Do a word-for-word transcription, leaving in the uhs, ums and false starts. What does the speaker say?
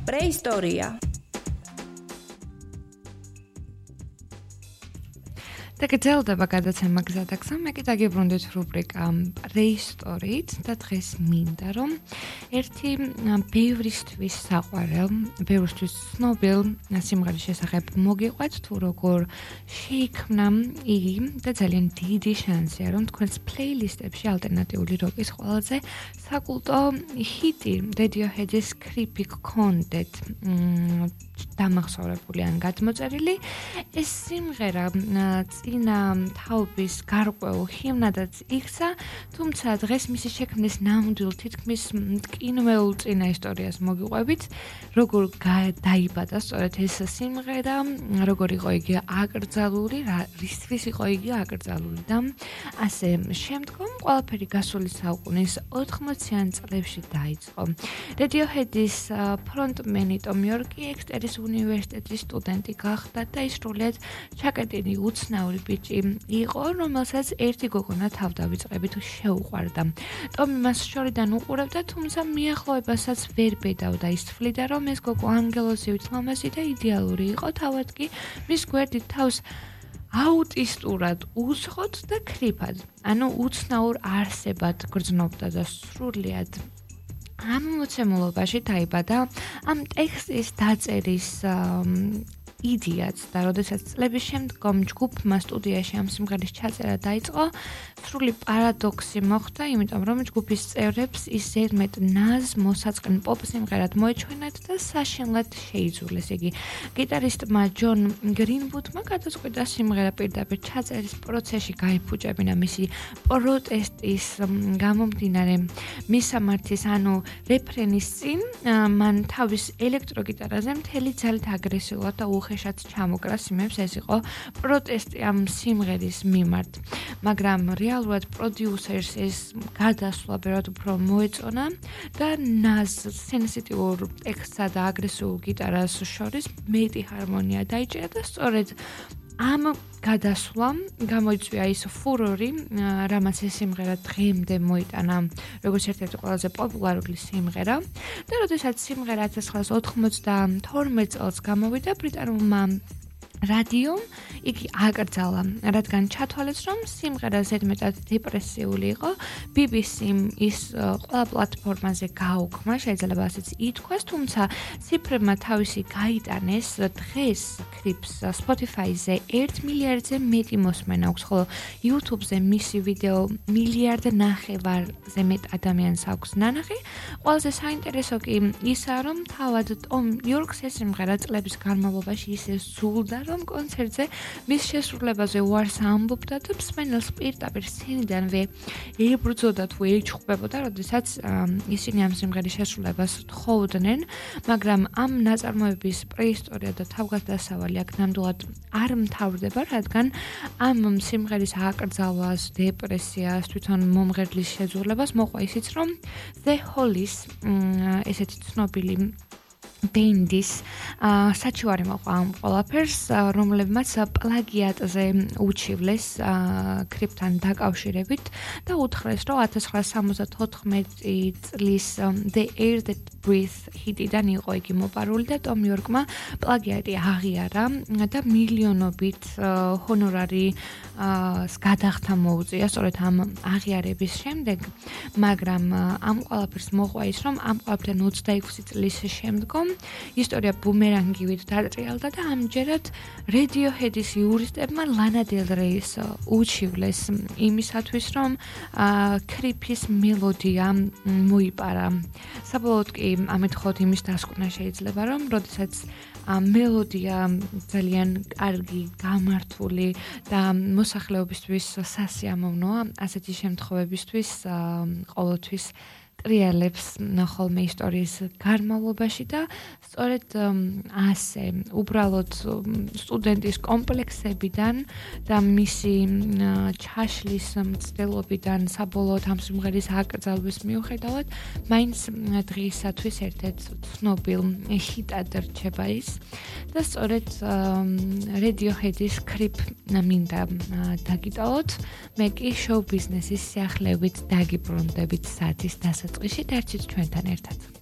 პრეისტორია. და გძელდება გადაცემა გზადაგზა, მე კი დაგიბრუნდით რუბრიკა პრეისტორიით და დღეს მინდა რომ ერთი ბევრისთვის საყვარელ, ბევრისთვის ცნობილ სიმღერის შესახებ მოგიყვეთ, თუ როგორ შეიქმნა იგი და ძალიან დიდი შანსია რომ თქვენს პლეილისტებში ალტერნატიული როკის ყველაზე საკულტო ჰიტი Radiohead-ის Creepy გქონდეთ დამახსოვრებული ან გადმოწერილი. ეს სიმღერა წინა თაობის გარკვეულ ჰიმნადაც იქცა, თუმცა დღეს მისი შექმნის ნამდვილ თითქმის მტკინველ წინა ისტორიას მოგიყვებით, როგორ დაიბადა სწორედ ეს სიმღერა, როგორ იყო იგი აკრძალული, რისთვის იყო იგი აკრძალული და ასე შემდგომ ყველაფერი გასული საუკუნის ოთხმოციან წლებში დაიწყო. Radiohead-ის ფრონტმენი ტომ იორკი ექსტერის უნივერსიტეტის სტუდენტი გახდა და ის სრულიად ჩაკეტილი უცნაური ბიჭი იყო, რომელსაც ერთი გოგონა თავდავიწყებით შეუყვარდა. ტომი მას შორიდან უყურებდა, თუმცა მიახლოებასაც ვერ ბედავდა. ის თვლიდა, რომ ეს გოგო ანგელოზივით ლამაზი და იდეალური იყო, თავად კი მის გვერდით თავს აუტისტურად უსხოთ და ქრიფად, ანუ უცნაურ არსებად გრძნობდა და სრულიად ამ მოცემულობაში დაიბადა ამ ტექსტის დაწერის იდეაც და როდესაც წლების შემდგომ ჯგუფმა სტუდიაში ამ სიმღერის ჩაწერა დაიწყო, სრული პარადოქსი მოხდა, იმიტომ რომ ჯგუფის წევრებს ის ზედმეტ ნაზ მოსაწყენ პოპ სიმღერად მოეჩვენათ და საშინლად შეიძულეს იგი. გიტარისტმა ჯონ გრინვუდმა გადაწყვიტა სიმღერა პირდაპირ ჩაწერის პროცესში გაიფუჭებინა მისი პროტესტის გამომდინარე მისამართის, ანუ რეფრენის წინ მან თავის ელექტროგიტარაზე მთელი ძალით აგრესიულად და უხეშად ჩამოკრა სიმებს, ეს იყო პროტესტი ამ სიმღერის მიმართ. მაგრამ რეალურად პროდიუსერს ეს გადასვლა ბევრად უფრო მოეწონა და ნაზ სენსიტიურ ტექსტსა და აგრესიულ გიტარას შორის მეტი ჰარმონია დაიჭირა და სწორედ ამ გადასვლამ გამოიწვია ის ფურორი, რამაც ეს სიმღერა დღემდე მოიტანა როგორც ერთ-ერთი ყველაზე პოპულარული სიმღერა და როდესაც სიმღერა ათას ცხრაასა ოთხმოცდათორმეტ წელს გამოვიდა ბრიტანულმა რადიომ იგი აკრძალა, რადგან ჩათვალეს, რომ სიმღერა ზედმეტად დეპრესიული იყო. ბი ბი სიმ ის ყველა პლატფორმაზე გაუქმა, შეიძლება ასეც ითქვას, თუმცა ციფრებმა თავისი გაიტანეს. დღეს Creeps Spotify-ზე ერთ მილიარდზე მეტი მოსმენა აქვს, ხოლო YouTube-ზე მისი ვიდეო მილიარდ ნახევარზე მეტ ადამიანს აქვს ნანახი. ყველაზე საინტერესო კი ისაა, რომ თავად ტომ იორკს ეს სიმღერა წლების განმავლობაში ისე სულდა, რომ კონცერტზე მის შესრულებაზე უარს ამბობდა და მსმენელს პირდაპირ სცენიდანვე ებრძოდა თუ ეჩხუბებოდა, როდესაც ისინი ამ სიმღერის შესრულებას თხოვდნენ, მაგრამ ამ ნაწარმოების პრეისტორია და თავგადასავალი აქ ნამდვილად არ მთავრდება, რადგან ამ სიმღერის აკრძალვას, დეპრესიას, თვითონ მომღერლის შეძულებას მოყვა ისიც, რომ The Hollies, ესეთი ცნობილი ბენდის საჩივარი მოყვა ამ ყველაფერს, რომლებმაც პლაგიატზე უჩივლეს Creep-თან დაკავშირებით და უთხრეს, რომ ათას ცხრაასა სამოცდათოთხმეტი წლის The Air That Breathe ჰიტიდან იყო იგი მოპარული და ტომ იორკმა პლაგიატი აღიარა და მილიონობით ჰონორარი გადახდა მოუწია სწორედ ამ აღიარების შემდეგ, მაგრამ ამ ყველაფერს მოყვა ის, რომ ამ ყველაფერთან ოცდაექვსი წლის შემდგომ ისტორია ბუმერანგივით დატრიალდა და ამჯერად Radiohead-ის იურისტებმა Lana Del Rey-ს უჩივლეს იმისათვის, რომ Creep-ის მელოდია მოიპარა. საბოლოოდ კი ამით ხოთ იმის დასკვნა შეიძლება, რომ როდესაც მელოდია ძალიან კარგი, გამართული და მოსახლეობისთვის სასიამოვნოა, ასეთი შემთხვევებისთვის ყოველთვის ტრიალებს ხოლმე ისტორიის განმავლობაში და სწორედ ასე უბრალოდ სტუდენტის კომპლექსებიდან და მისი ჩაშლის მცდელობიდან საბოლოოდ ამ სიმღერის აკრძალვის მიუხედავად მაინც დღისათვის ერთ-ერთ ცნობილ ჰიტად რჩება ის და სწორედ Radiohead-ის Creep მინდა დაგიტოვოთ, მე კი შოუ ბიზნესის სიახლეებით დაგიბრუნდებით საათის დასაწყისში, დარჩით ჩვენთან ერთად.